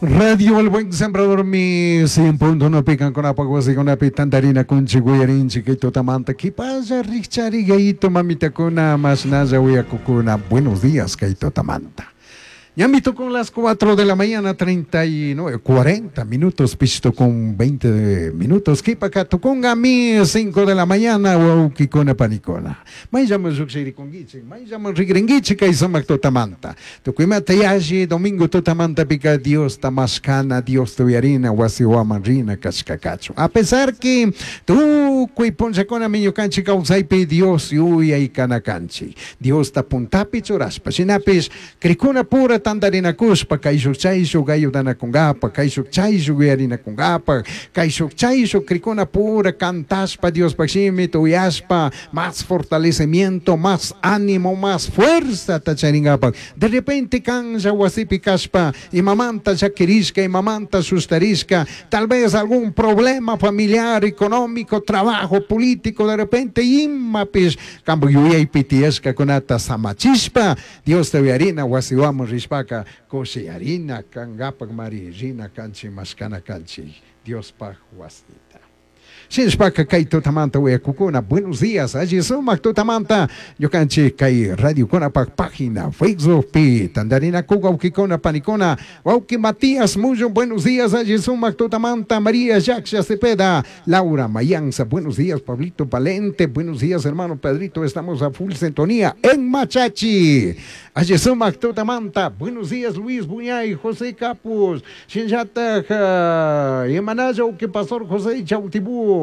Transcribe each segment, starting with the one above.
Radio El Buen Sembrador mi 100.1 pikankunapaq wasikunapi tantarinakunchik uyarinchik kay tutamanta kipalla rikchari gayito mamitakuna mashnalla uyakukuna. Buenos días kay tutamanta. Ñami con las 4 de la mañana, 39, 40 minutos, pichto con 20 minutos. Kipaka tukunga mi 5 de la mañana, wawkikuna panikuna. Mayllaman llukshirikunkichik, mayllaman rigrinkichik kay sumak tutamanta. Tukuymata yalli domingo tutamantapika Diosta mashkana, Diosta uyarina, wasiwaman rina kashkakachu. A pesar que tukuy punllakunami ñukanchik kawsaypi Dios yuyaykana kanchik. Diosta puntapi churashpa, shinapish krikuna pura tantarinakushpa kayshuk chayshuk ayudanakunkapa, kayshuk chayshuk uyarinakunkapa, kayshuk chayshuk krikuna pura cantashpa Diospaj shimita uyashpa, más fortalecimiento, más ánimo, más fuerza charinkapak. De repente kanlla wasipi kashpa, imamanta llakirishka, imamanta sustarishka, tal vez algún problema familiar, económico, trabajo, político, de repente imapish kanpak yuyaypi tiyashkakunata samachishpa, Diosta uyarina wasiwaman rishpaka kushiyarina kankapak mari rina kanchik mashkana kanchik Diospaj wasita. Shinashpaka kay tutamanta uyakukuna, buenos días, alli sumak tutamanta, ñukanchik kay radiokunapak página Facebookpi, tantarinaku wawkikuna panikuna, wawki Matías Mullo, buenos días, alli sumak tutamanta, María Yaksha Cepeda, Laura Mayanza, buenos días, Pablito Valente, buenos días, hermano Pedrito, estamos a full sintonía en Machachi, alli sumak tutamanta, buenos días, Luis Buñay, José Capus, Shinllataj, Imanaya, wawki Pastor José Chautibú.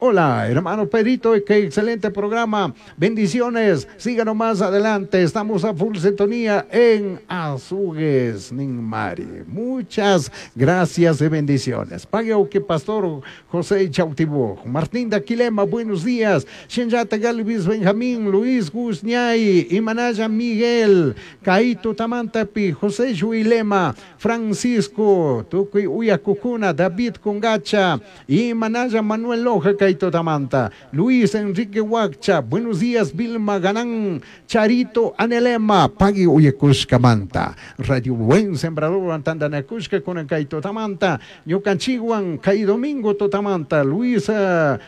Hola, hermano Pedrito, qué excelente programa. Bendiciones, síganos más adelante. Estamos a full sintonía en Azugues, Ninmari. Muchas gracias y bendiciones. Pague que Pastor José Chautibú. Martín de Aquilema, buenos días. Shinjata Galvis Benjamín, Luis Guzñay, Imanaya Miguel, Caito Tamantapi, José Juilema, Francisco, Tukuy Uyakukuna, David Congacha, Imanaya Manuel Loja, Caito Tamanta, Luis Enrique Huacha, buenos días, Vilma Ganán, Charito Anelema, Pagui Uyakushkamanta, Radio Buen Sembrador, Antandanakushka con Caito Tamanta, Ñukanchiguan, Cay Domingo Totamanta, Luis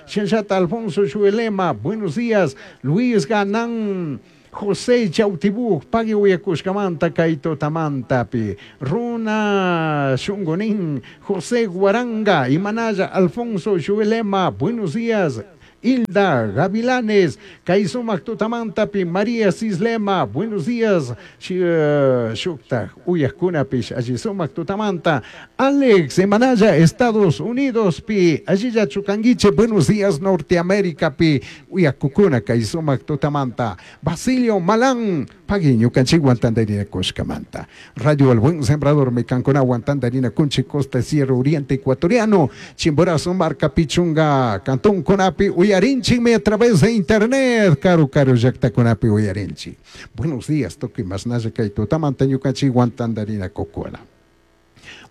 Shenshata Alfonso Chuelema, buenos días, Luis Ganán, José Chautibú, Pagui Uyakushkamanta, Kaito Tamantapi, Runa Shungonín, José Guaranga, Imanaya, Alfonso Chuelema, buenos días, Hilda Gavilanes, Kaisumak Tutamantapi, María Cislema, buenos días, Shukta, Uyaskunapish, Allisumak Tutamanta, Alex Emanaya, Estados Unidos, pi, Allilla Chucanguiche, buenos días, Norteamérica, pi, Uyakukuna, Kaisumak Tutamanta, Basilio Malán, Pagui, Ñukanchik Tandarina Kushkamanta, Radio El Buen Sembrador, Mecancona, Tandarina Kunchi, Costa Sierra Oriente Ecuatoriano, Chimborazo, Marca Pichunga, Cantón Conapi, Uyarinchi a través de internet, Caro Caro Yacta Conapi Uyarinchi. Buenos días, toque más naya kaito, tamanta ñukanchik Tandarina Kokona.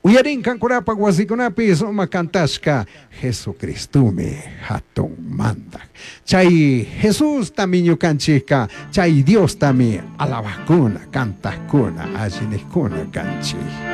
Uyarin kankunapa wasikunapi suma kantashka Jesucristumi hatun mandak. Chay Jesús tami ñukanchikka, chay Dios tami alabakuna, kantakuna, allinikuna kanchik.